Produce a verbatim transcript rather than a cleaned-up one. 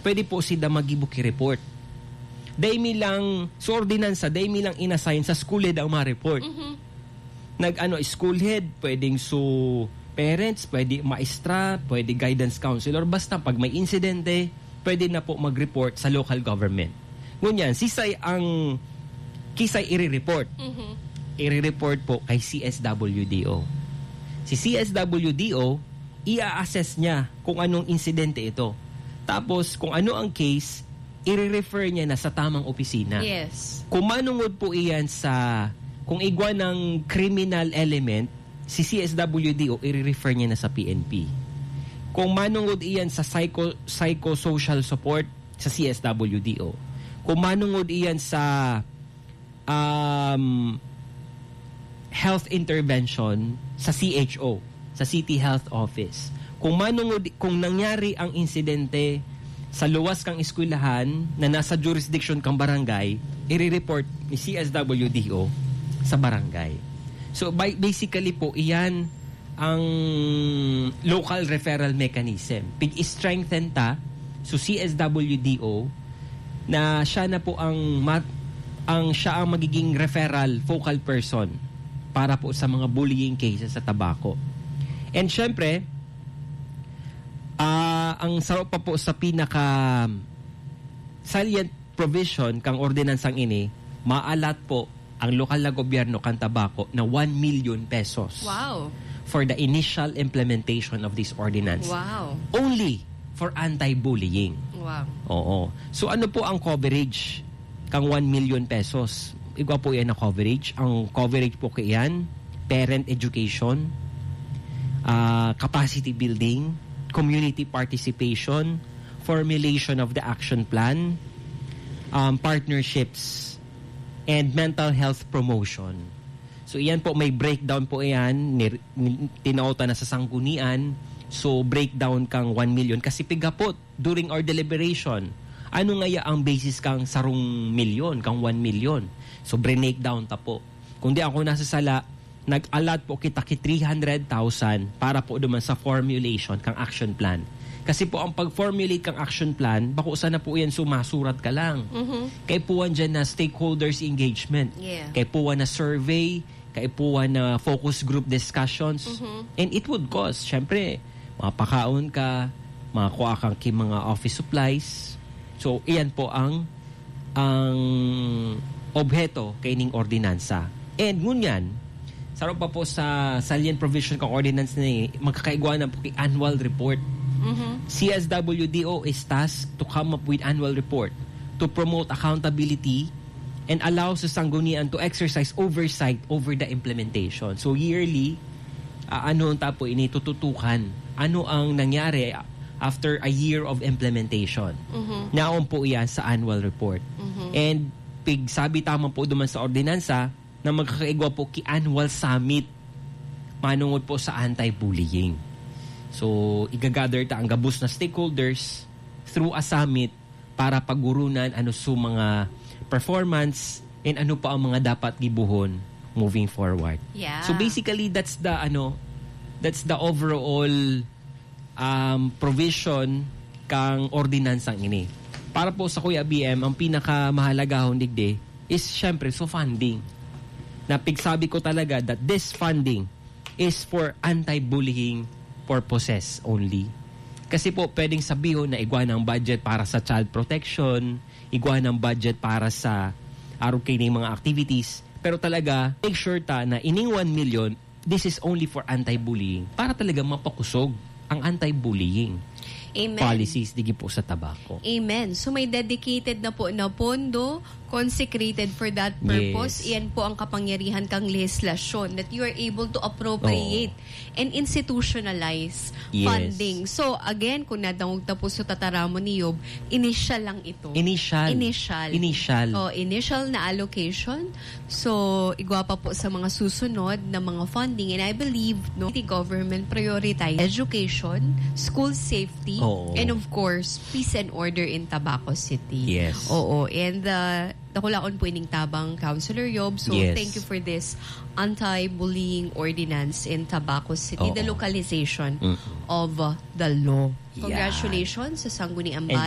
pwede po sila maggibo ki report. Dai mi lang, so ordinansa, dai mi lang inassign sa school head ang mga report. Mhm. Nag-ano, school head, pwedeng so parents, pwede maestra, pwede guidance counselor. Basta pag may insidente, pwede na po mag-report sa local government. Ngunyan, sisay ang kisay i-report? Mhm. I-report po kay C S W D O. Si C S W D O, i-assess niya kung anong insidente ito. Tapos, kung ano ang case, i-refer niya na sa tamang opisina. Yes. Kung manungod po iyan sa, kung igwa ng criminal element, si C S W D O, i-refer niya na sa P N P. Kung manungod iyan sa psycho-, psychosocial support, sa C S W D O. Kung manungod iyan sa, um, health intervention, sa C H O, sa City Health Office. Kung manungod, kung nangyari ang insidente sa luwas kang eskwelahan na nasa jurisdiction kang barangay, i-report ni C S W D O sa barangay. So, by, basically po, iyan ang local referral mechanism. Pig-strengthen ta, so C S W D O, na siya na po ang mat-, ang siya ang magiging referral focal person para po sa mga bullying cases sa Tabaco. And syempre, ah, ang saro pa po sa pinaka salient provision kang ordinansang ini, maalat po ang lokal na gobyerno kan Tabaco na one million pesos Wow. for the initial implementation of this ordinance. Wow. Only for anti-bullying. Wow. Oo. So, ano po ang coverage kang one million pesos? Igwa po yan na coverage. Ang coverage po kaiyan, parent education, ah, capacity building, community participation, formulation of the action plan, um, partnerships, and mental health promotion. So, iyan po, may breakdown po iyan, ni, ni, tinaotan na sa sanggunian. So, breakdown kang one million. Kasi piga po, during our deliberation, ano ngaya ang basis kang sarong milyon, kang one million? So, breakdown ta po. Kung di ako nasasala, nag-allot po kita ki three hundred thousand para po duman sa formulation kang action plan. Kasi po, ang pag-formulate kang action plan, bako sana po yan sumasurat ka lang. Mhm. Kaipuhan dyan na stakeholders engagement. Yeah. Kaipuhan na survey, kaipuhan na focus group discussions. Mhm. And it would cost, syempre, mapakaon ka, makakuha kang ki mga office supplies. So, iyan po ang, ang obheto kaining ordinansa. And ngunyan, saro pa po sa salient provision kang ordinance na ini, magkakaigwa na po ki annual report. Mhm. C S W D O is tasked to come up with annual report to promote accountability and allow sa sanggunian to exercise oversight over the implementation. So, yearly, ah, ano ang tapo ini tututukan? Ano ang nangyari after a year of implementation? Mhm. Naon po iyan sa annual report. Mhm. And pigsabi tama po duman sa ordinansa na magkakaigwa po ki annual summit manungod po sa anti-bullying. So, igagather ta ang gabos na stakeholders through a summit para pagurunan ano su mga performance and ano pa ang mga dapat gibuhon moving forward. Yeah. So, basically, that's the, ano, that's the overall, um, provision kang ordinansang ini. Para po sa Kuya B M, ang pinakamahalagahon digdi is, syempre, so funding. Na pigsabi ko talaga that this funding is for anti-bullying purposes only. Kasi po, pwedeng sabihon na igwa ng budget para sa child protection, igwa ng budget para sa arog kaining mga activities, pero talaga, make sure ta na ining one million, this is only for anti-bullying. Para talaga mapakusog ang anti-bullying Amen. policies digi po sa Tabaco. Amen. So, may dedicated na po na pondo, consecrated for that purpose. Yes. Iyan po ang kapangyarihan kang lehislasyon, that you are able to appropriate Oo. and institutionalize Yes. funding. So, again, kung nadangog ta po sa tataramon ni Yob, initial lang ito. Initial. Initial. Initial. Oh, initial na allocation. So, igwa pa po sa mga susunod na mga funding. And I believe, no, the government prioritize education, school safety, Oo. and of course, peace and order in Tabaco City. Yes. Oo. And, uh, dakulaon po ining tabang, Councilor Yob. So, Yes. thank you for this anti-bullying ordinance in Tabaco City, Oo. the localization Mm. of, uh, the law. Yan. Congratulations sa Sangguniang And Bayan.